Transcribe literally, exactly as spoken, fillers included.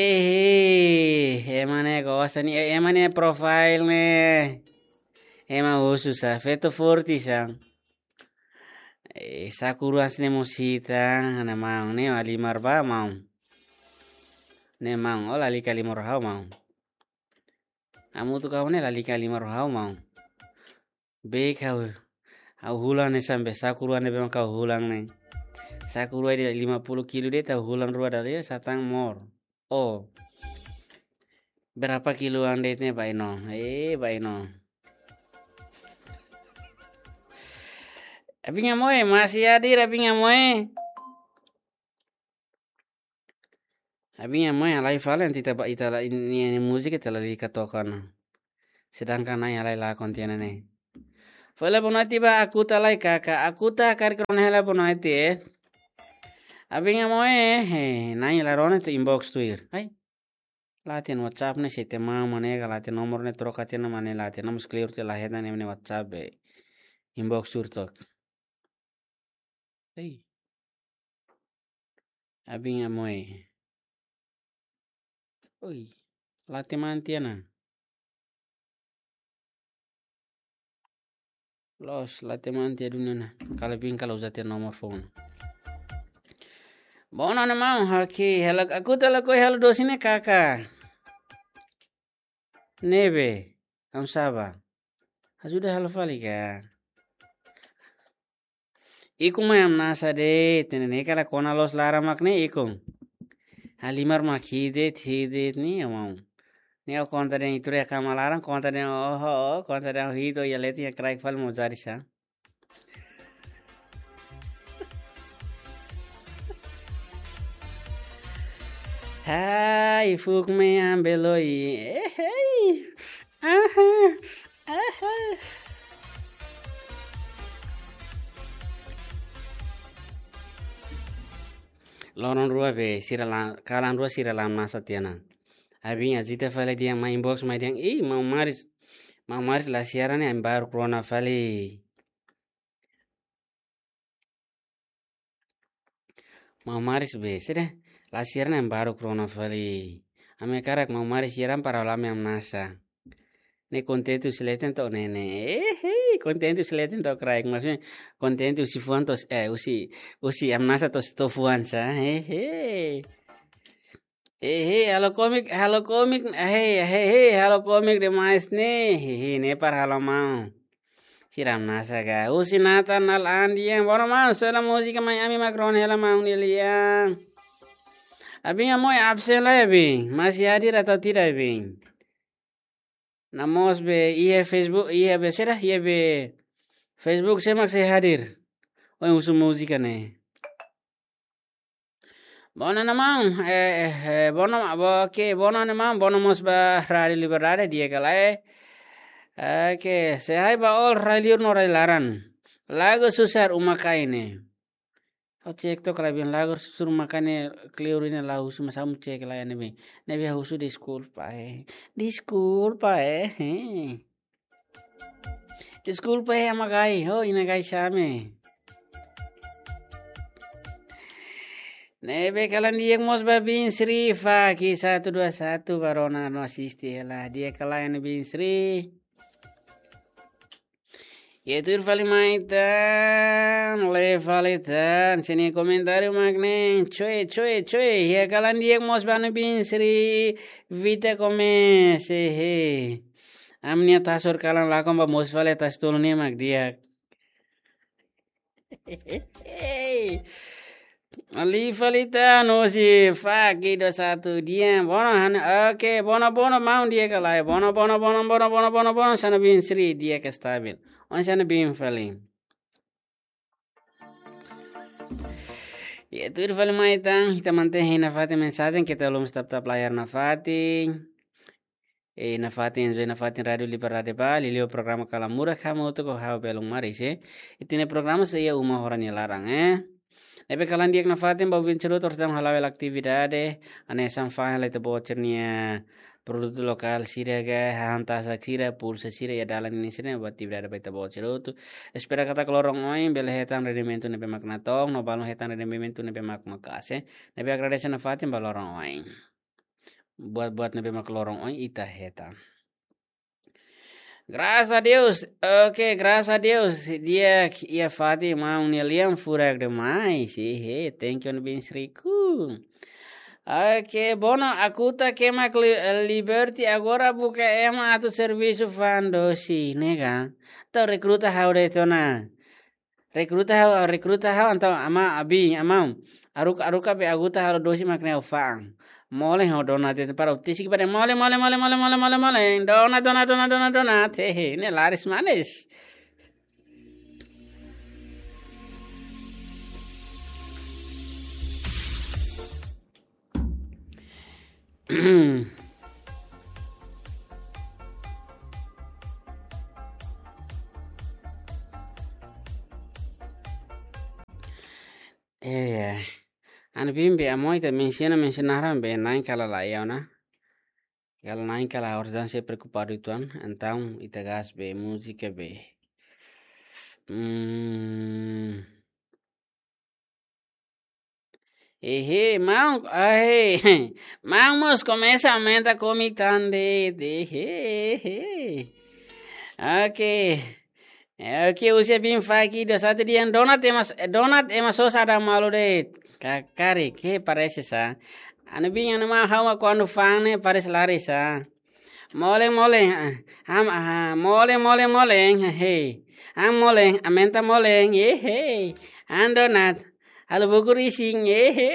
Hehe, ema ne'e gosta ne'e, ema ne'e profile ne'e. Ema husu sá, feto forte sá. Eh, Sakura sine mosita, ana maun ne'e, halimar ba maun. Ne'e maun, ó lalika halimar ha'u maun. Hamutuk ho ha'u ne'e lalika halimar ha'u maun. Be kau, ha'u hulan ne'e sampe Sakura ne'ebé mak ha'u hulan ne'e. Sakura ida lima puluh kilo de'it ha'u hulan rua dala ida satán mós. Oh. Berapa kiloan de'it ne'e bainhira? Eh, bainhira. Abin Amoy, masih hadir, Abin Amoy. Abin Amoy, halai fali ita ba, ita la, ini, ini múzika ita lalika toka ona. Sedangkan Na'i halai lakon tiha ona ne'e. Fali boa noite ba Akuta lai kaka. Akuta karik rona hela boa noite, eh. Abin Amoy, eh, Na'i la rona ita inbox tuir. Ai. La hatene WhatsApp ne'e, se ita mak mane ka la hatene nomor ne'e troka tiha ona mane la hatene, nomor clear tiha la hetan ne'e WhatsApp be. Inbox tuir tok. Ei. Abin Amoy. Oi. La hatene mak tiha ona. Loos, la hatene mak tiha duni ona. Kala bin kala uza tiha nomor phone. Bono ne mau, haki, hela, Akuta lakohi halo dosi ne'e kaka. Ne'ebé, am saba. Ajuda halo fali ka. Ikun mai hamnasa de'it, ne'e ne'e kala kona loos laran mak ne'e ikun. Halimar mak hi'it de'it, hi'it de'it ne'e amau. Ne'e ó konta de'it ita rua iha kama laran, konta de'it oho, ó konta de'it hi'it, ó iha leten iha kraik fali mós jadi sá. Hai, fuuk mai ambeloi. Eh, hei. Aha, aha. Loron rua be, sira la, kalan rua sira la hamnasa tiha ona. Abin Azita fali dehan mai inbox mai dehan, "Ih, Maun Maris, Maun Maris la siaran ne'e, ami baruk rona fali." Maun Maris be, sede, la siaran ne'e ami baruk rona fali. Ami hakarak Maun Maris siaran para halo ami hamnasa. Ne'e kontente husi leten to'o ne'e ne'e. Eh, hei, kontente husi leten to'o kraik. Maksudnya, kontente husi fuan to'o, eh, husi, husi hamnasa to'o, to'o fuan sá. Eh, hei. Eh, hei, halo komik, halo komik, eh, hei, hei, hei, halo komik demais ne'e. Hei, hei, ne'e para halo maun. Sira hamnasa ka. Husi Nathan Al Andian. Bono maun, sela múzika mai ami mak rona hela maun Nilian. Abin Amoy absen lai abin. Masih hadir atau tidak abin? Namoos be iha Facebook, iha be sira, iha be Facebook sé mak sei hadir. Ohin husu múzika ne'e. Bono ne'e maun, eh, eh, eh, bono, bo, oke, bono ne'e maun, bono mós ba Rádio Liberdade, di'ak ka lae. Oke, sei hail ba all rai liur no rai laran. Lagu susar uma kain ne'e. Ha'u cek tok kala bin lagu susar uma kain ne'e kleur ne'e la husu, mas ha'u cek lai ne'ebé. Ne'ebé husu deskulpa, eh. Deskulpa, eh. Eh. Deskulpa, eh, ama gai, ho, ina gai same. Ne'ebé kalan di'ak mós ba Bin Sri, Faki satu dua satu, ba rona no asiste hela. Di'ak ka lae ne'e Bin Sri. Iha tuir fali mai tan, lee fali tan, sini komentáriu mak ne'e, coe, coe, coe, iha kalan di'ak mós ba Bin Sri, Vita Gomes, hehe. Ami-nia tasur kalan lakon ba mosu fali tas tolu ne'e mak di'ak. Alif Alita no si Faki dua satu di'ak. Bono han, oke, bono, bono, maun di'ak ka lae. Bono, bono, bono, sana Bin Sri di'ak ka stabil. Oinsá ne'e Bin fali? Iha tuir fali mai tan, ita mantein iha nafatin mensajen, keta haluha tap-tap layar nafatin. Eh, nafatin, enjoy nafatin Rádio Liberdade ba, liuliu programa Kalamura, hamutuk ho ha'u Belun Maris, eh. Ita-nia programa sei iha uma horas nia laran, eh. Ne'ebé kalan di'ak nafatin ba ouvinte sira hotu, orsida mak hala'o hela atividade, hanesan fa'an hela ita-boot sira-nia produtu lokál sira ka, hahán tasak sira, pulsa sira, iha dalan ninin sira, ba atividade ba ita-boot sira hotu. Espera katak loron oin bele hetan rendimentu ne'ebé mak natoon, no balun hetan rendimentu ne'ebé mak maka'as, eh. Ne'ebé agradese nafatin ba loron oin. buat-buat ne'ebé mak loron oin ita hetan. Graças a Deus. Ok, graças a Deus. Di'ak, iha fatin maun nia lian furak demais. Hehe, thank you, Bin Sriku. Ok, Bono, Akuta, Kema, Li-, Liberty, agora buka ema atu servisu fa'an dosi, ne'e ka? Entaun rekruta ha'u de'it ona. Rekruta ha'u, rekruta ha'u, entaun amá, Bin, amá. Haruka, haruka be Akuta halo dosi mak ne'e ha'u fa'an. Molen ho Dona de'it para utisi kepada molen, molen, molen. Dona, Dona, Dona, Dona, Dona. Hehe, ne'e laris manis. Eh, anu Bin be amo ita mensiona, mensiona naran be na'in kala laiha ona. Kala na'in kala harus dan se preokupadu tuan, entaun ita gas be múzika be. Hmm. Ehe, maun, ahe, maun mós komesa aumenta komik tan de'it, ehe, ehe. Ok. Eh, ok, husi Bin faki do satu dia Dona ema, Dona ema sosa ada malu de'it. Ka-, karik, ke parese sa. Anu Bin anu maun ha'u mak kuandu fa'an ne'e parese laris sa. Molen, molen, ah, ham, ah, molen, molen, molen, he. Ham molen, aumenta molen, ye, he. Ham Dona, halo buku rising, ye, he.